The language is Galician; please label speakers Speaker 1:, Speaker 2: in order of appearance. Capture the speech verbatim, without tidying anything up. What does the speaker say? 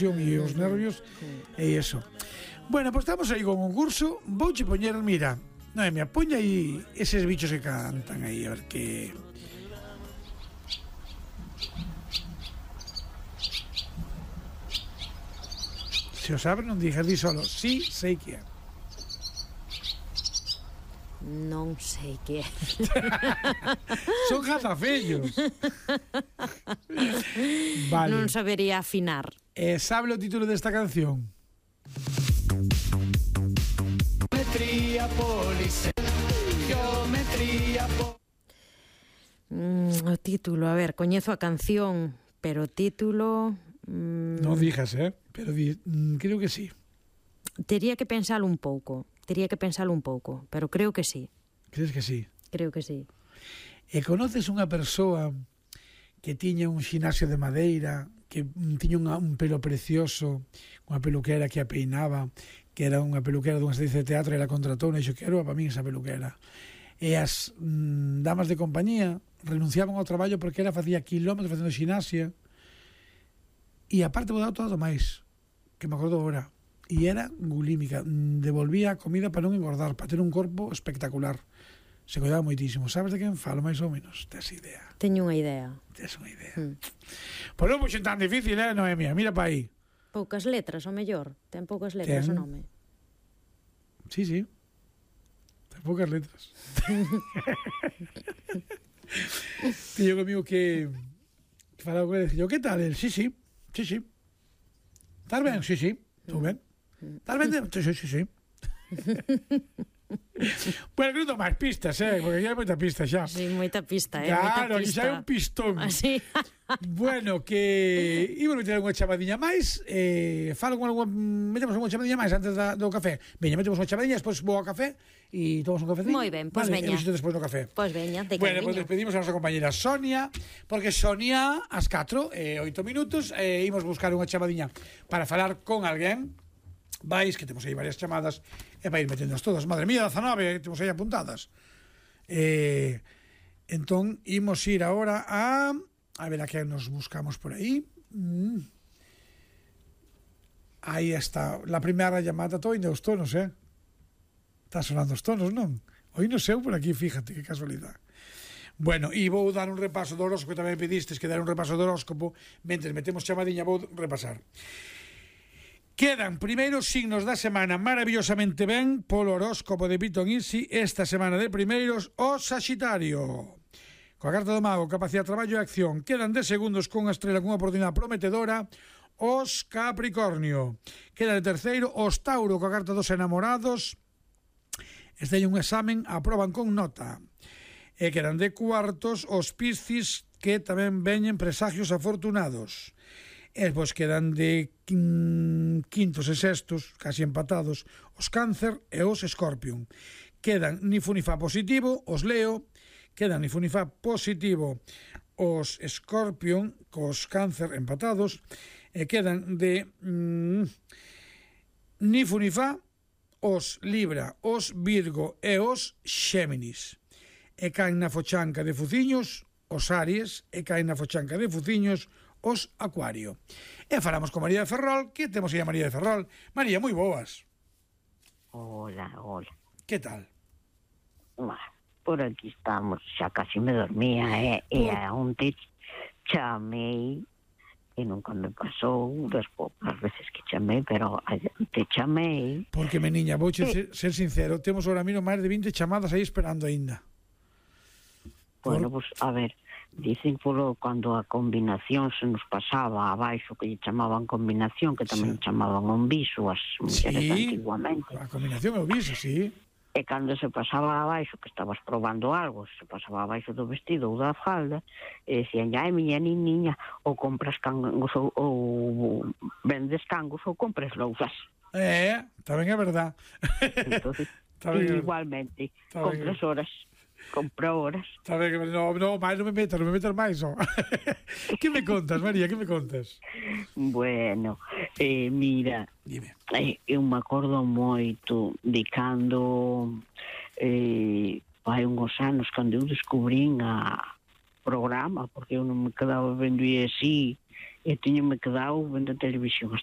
Speaker 1: tensión e os nervios e iso. Bueno, pois estamos aí con un curso. Vouche poñer, mira, Noemia, poña aí eses bichos que cantan aí, a ver que... Se o sabe, non digas, di solo, sí, sei que é.
Speaker 2: Non sei que é.
Speaker 1: Son jazafellos. Vale.
Speaker 2: Non sabería afinar.
Speaker 1: Eh, sabe o título desta canción? Geometría police. Geometría po...
Speaker 2: Mm, o título, a ver, coñezo a canción, pero o título... Mm,
Speaker 1: non dijas, eh? Pero di, mm, creo que sí.
Speaker 2: Tería que pensalo un pouco. Tería que pensalo un pouco, pero creo que sí.
Speaker 1: Crees que sí?
Speaker 2: Creo que sí.
Speaker 1: E conoces unha persoa que tiña un xinasio de madeira, que tiña unha, un pelo precioso, unha peluquera que a peinaba, que era unha peluquera dunha estancia de teatro, e la contratou, e dixo, quero para min esa peluquera. E as mm, damas de compañía renunciaban ao traballo porque era facía kilómetros facendo xinasia, e aparte vou dar todo máis, que me acordo agora. E era bulímica, devolvía a comida para non engordar, para ter un corpo espectacular. Se cuidaba moitísimo. Sabes de quen falo, máis ou menos? Tes idea?
Speaker 2: Teño unha idea.
Speaker 1: Tes unha idea.
Speaker 2: Mm.
Speaker 1: Pois non puxen tan difícil, eh, Noemia? Mira para aí.
Speaker 2: Poucas letras, o mellor. Ten poucas letras
Speaker 1: Ten.
Speaker 2: o nome.
Speaker 1: Sí, sí. Ten poucas letras. Tiño comigo que... que falaba con ele, dixo, que tal? El, sí, sí. Sí, sí. Estás ben? Sí, sí. Estou ben. Estás ben? Sí, sí, sí, sí. Bueno, que non máis pistas, eh? Porque aquí hai moita pista xa.
Speaker 2: Sí, moita pista, eh?
Speaker 1: Claro,
Speaker 2: moita
Speaker 1: aquí xa hai un pistón.
Speaker 2: Así.
Speaker 1: Bueno, que íbamos meter unha chamadiña máis, eh, falo con algún, metemos unha chamadiña máis antes da, do café. Veña, metemos unha chamadiña, despois vou ao café e tomamos un cafecín.
Speaker 2: Moi ben, pois
Speaker 1: vale,
Speaker 2: veña.
Speaker 1: E visito despois no café.
Speaker 2: Pois veña, de
Speaker 1: Bueno,
Speaker 2: cariño.
Speaker 1: pois despedimos a nosa compañera Sonia, porque Sonia, ás catro e oito minutos, eh, imos buscar unha chamadiña para falar con alguén. Vais, que temos aí varias chamadas, e vai ir metendas todas. Madre mía, dezanove, temos aí apuntadas. Eh, entón, imos ir agora a... A ver a que nos buscamos por aí. Mm. Aí está. La primeira llamada, todo ainda os tonos, eh? Está sonando os tonos, non? Hoy non sei por aquí, fíjate, que casualidade. Bueno, e vou dar un repaso do horóscopo, que tamén pedistes que dar un repaso do horóscopo. Mentre metemos chamadiña, vou repasar. Quedan primeiros signos da semana maravillosamente ben polo horóscopo de Piton Easy. Esta semana de primeiros, o Saxitario. Coa carta do mago, capacidade de traballo e acción. Quedan de segundos con a estrela con unha oportunidade prometedora, os Capricornio. Queda de terceiro, os Tauro, coa carta dos enamorados. Este é un examen, aproban con nota. E quedan de cuartos, os Piscis, que tamén veñen presagios afortunados. E pois quedan de quintos e sextos, casi empatados, os Cáncer e os Escorpión. Quedan ni fu ni fa positivo, os Leo. Quedan ni fu ni fa positivo, os Escorpión, cos Cáncer empatados. E quedan de mm, ni fu ni fa, os Libra, os Virgo e os Xéminis. E caen na fochanca de fuciños os Aries, e caen na fochanca de fuciños os Acuario. E falamos con María de Ferrol, que temos aí a María de Ferrol. María, moi boas.
Speaker 3: Hola, hola.
Speaker 1: Que tal?
Speaker 3: Bah, por aquí estamos, xa casi me dormía, eh? E a onte chamei, e nunca me pasou, das poucas veces que chamei, pero a onte chamei...
Speaker 1: Porque, meniña, vou
Speaker 3: eh,
Speaker 1: ser, ser sincero, temos ahora mismo máis de vinte chamadas aí esperando aínda.
Speaker 3: Bueno, pues, a ver, dicen polo cando a combinación se nos pasaba abaixo, que lle chamaban combinación, que tamén
Speaker 1: Sí.
Speaker 3: chamaban un viso as mulleres
Speaker 1: Sí,
Speaker 3: antiguamente.
Speaker 1: a combinación é o viso, sí.
Speaker 3: E cando se pasaba abaixo, que estabas probando algo, se pasaba abaixo do vestido ou da falda, e decían, ai, miña niña, ou compras cangos ou, ou vendes cangos ou compras lousas.
Speaker 1: É, tamén é verdad.
Speaker 3: Entonces,
Speaker 1: Tamén é verdad.
Speaker 3: igualmente,
Speaker 1: Está ben.
Speaker 3: compras horas, compra horas.
Speaker 1: Está ben, no, no, máis non me metas, non me metas máis, oh. Que me contas, María, que me contas?
Speaker 3: Bueno, eh, mira,
Speaker 1: Dime.
Speaker 3: eh, eu me acordo moito de cando eh, hai uns anos cando eu descubrín a programa, porque eu non me quedaba vendo e así, e tiño me quedado vendo a televisión hasta